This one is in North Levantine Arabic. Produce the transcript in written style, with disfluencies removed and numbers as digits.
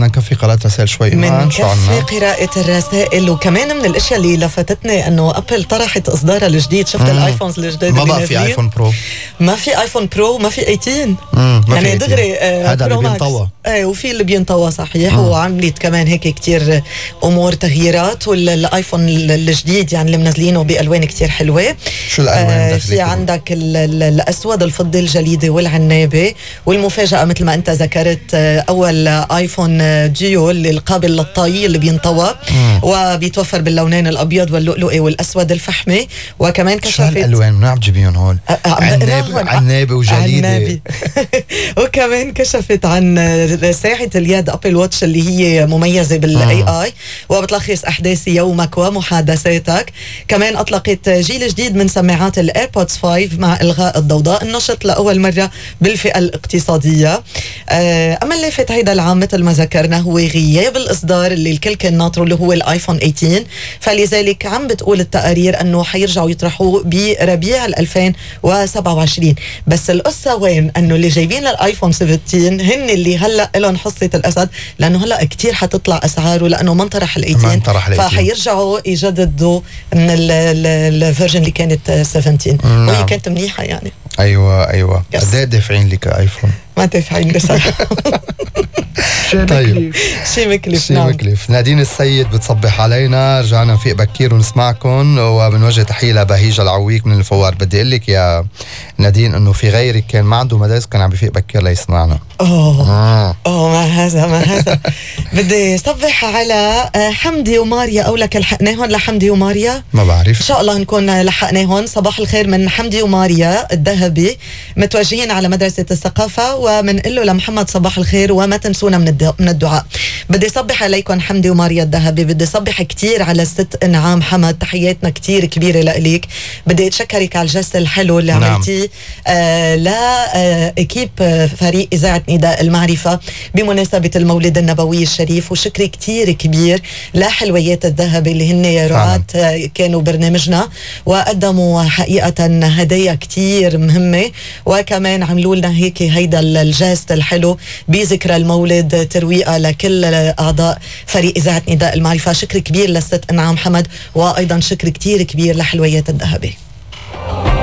بدنا نكفي قراءة رسائل شوي. من كفي قراءة الرسائل. وكمان من الاشياء اللي لفتتني انه ابل طرحت اصدارها الجديد. شفت الايفونز الجديد ما بقى في ايفون برو، ما في ايفون برو، ما في 18 يعني دغري هذا اللي بينطوى. وفي اللي بينطوى صحيح. وعملت كمان هيك كتير امور تغييرات. والايفون الجديد يعني اللي منزلينه بالوان كتير حلوه. شو الالوان؟ في عندك الاسود، الفضي، الجليدي والعنابي. والمفاجاه مثل ما انت ذكرت اول ايفون ديو اللي القابل للطي اللي بينطوى وبيتوفر باللونين الابيض واللؤلؤي والاسود الفحمي. وكمان كشفت شو هالالوان منعم تجيبيهم هون؟ عنابي وجليدي. وكمان كشفت عن ساعة اليد ابل واتش اللي هي مميزة بالاي اي وبتلخص احداث يومك ومحادثاتك. كمان اطلقت جيل جديد من سماعات الايربودز 5 مع الغاء الضوضاء، النشط لاول مرة بالفئة الاقتصادية. اما اللافت هيدا العام مثل ما ذكرنا هو غياب الاصدار اللي الكل كان ناطره اللي هو الايفون 18. فلذلك عم بتقول التقارير انه حيرجعوا يطرحوه بربيع 2027. بس القصة وين؟ انه اللي جايبين الايفون 17 هن اللي هلا لهم حصة الاسد، لانه هلا كتير حتطلع اسعاره لانه ما انطرح ال 18 فحيرجعوا يجددوا من الفيرجن اللي كانت 17 وهي كانت منيحة يعني. ايوه قد ايه دافعين لك ايفون؟ ما دافعين بصراحة. طيب شي مكلف. نادين السيد بتصبح علينا. رجعنا نفيق بكير ونسمعكم وبنوجه تحية لبهيجة العويك من الفوار. بدي اقول لك يا نادين انه في غيرك كان ما عنده مدارس كان عم بفيق بكير ليسمعنا. ما هذا بدي صبح على حمدي وماريا. او لك لحقناهم لحمدي وماريا؟ ما بعرف، ان شاء الله نكون لحقناهم. صباح الخير من حمدي وماريا الذهبي، متوجهين على مدرسة الثقافة. ومنقله لمحمد صباح الخير وما تنسونا من الدعاء. بدي صبح عليكم حمدي وماريا الذهبي. بدي صبح كتير على الست انعام حمد، تحياتنا كتير كبيرة لإليك. بدي اتشكرك على الجست الحلو اللي عملتيه لإكيب فريق إذاعة نداء المعرفة بمناسبة المولد النبوي الشريف. وشكري كتير كبير لحلويات الذهبي اللي هن رعاة كانوا برنامجنا وقدموا حقيقة هدايا كتير مهمة. وكمان عملوا لنا هيك هيدا الجست الحلو بذكرى المولد ترويقة لكل أعضاء فريق إذاعة نداء المعرفة. شكر كبير للست انعام حمد، وأيضا شكر كتير كبير لحلويات الذهبي.